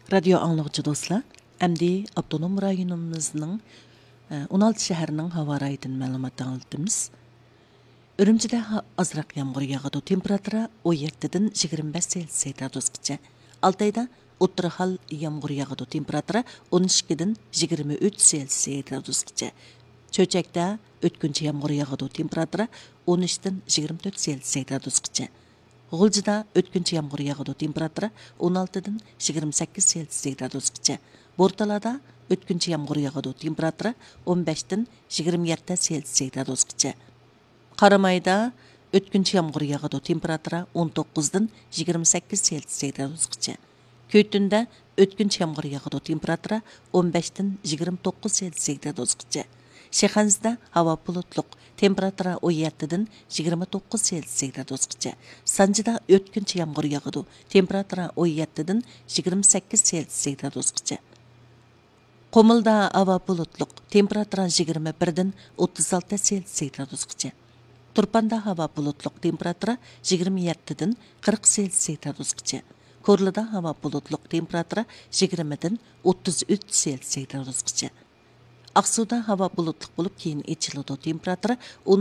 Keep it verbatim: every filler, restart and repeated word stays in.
رادىيو ئاڭلىغۇچى دوستلار، ئەمدى ئاپتونوم رايونىمىزنىڭ، ئە، ئون ئالتە شەھەرنىڭ ھاۋا رايىدىن مەلۇمات ئاڭلىتىمىز. ئۈرۈمچىدە ھا-، ئازراق يامغۇر ياغىدۇ، تېمپېراتۇرا ئون يەتتىدىن يىگىرمە بەش سېلسىيە گرادۇسقىچە. ئالتايدا ئوتتۇرا ھال يامغۇر ياغىدۇ، تېمپېراتۇرا ئون ئىككىدىن يىگىرمە ئۈچ سېلسىيە گرادۇسقىچە. چۆچەكتە ئۆتكۈنچى يامغۇر ياغىدۇ، تېمپېراتۇرا ئون ئۈچتىن يىگىرمە تۆت سېلسىيە گرادۇسقىچە. غۇلجىدا ئۆتكۈنچى يامغۇر ياغىدۇ، تېمپېراتۇرا ئون ئالتىدىن يىگىرمە سەككىز سېلسىيە گرادۇسقىچە. بورتالادا ئۆتكۈنچى يامغۇر ياغىدۇ، تېمپېراتۇرا ئون بەشتىن يىگىرمە يەتتە سېلسىيە گرادۇسقىچە. قارامايدا ئۆتكۈنچى يامغۇر ياغىدۇ، تېمپېراتۇرا ئون توققۇزدىن يىگىرمە سەككىز سېلسىيە گرادۇسقىچە. كۆتۈندە ئۆتكۈنچى يامغۇر ياغىدۇ، تېمپېراتۇرا ئون بەشتىن يىگىرمە توققۇز سېلسىيە گرادۇسقىچە. شىخەنزىدە ھاۋا بۇلۇتلۇق، تېمپېراتۇرا ئون يەتتىدىن يىگىرمە توققۇز سېلسىيە گرادۇسقىچە. سانجىدا ئۆتكۈنچى يامغۇر ياغىدۇ، تېمپېراتۇرا ئون يەتتىدىن يىگىرمە سەككىز سېلسىيە گرادۇسقىچە. قۇمۇلدا ھاۋا بۇلۇتلۇق، تېمپېراتۇرا يىگىرمە بىردىن ئوتتۇز ئالتە سېلسىيە گرادۇسقىچە. تۇرپاندا ھاۋا بۇلۇتلۇق، تېمپېراتۇرا يىگىرمە يەتتىدىن قىرىق سېلسىيە گرادۇسقىچە. كورلىدا ھاۋا بۇلۇتلۇق، تېمپېراتۇرا يىگىرمىدىن ئوتتۇز ئۈچ سېلسىيە گرادۇسقىچە. ئاقسۇدا ھاۋا بۇلۇتلۇق بولۇپ، كېيىن ئېچىلىدۇ، تېمپېراتۇرا ئون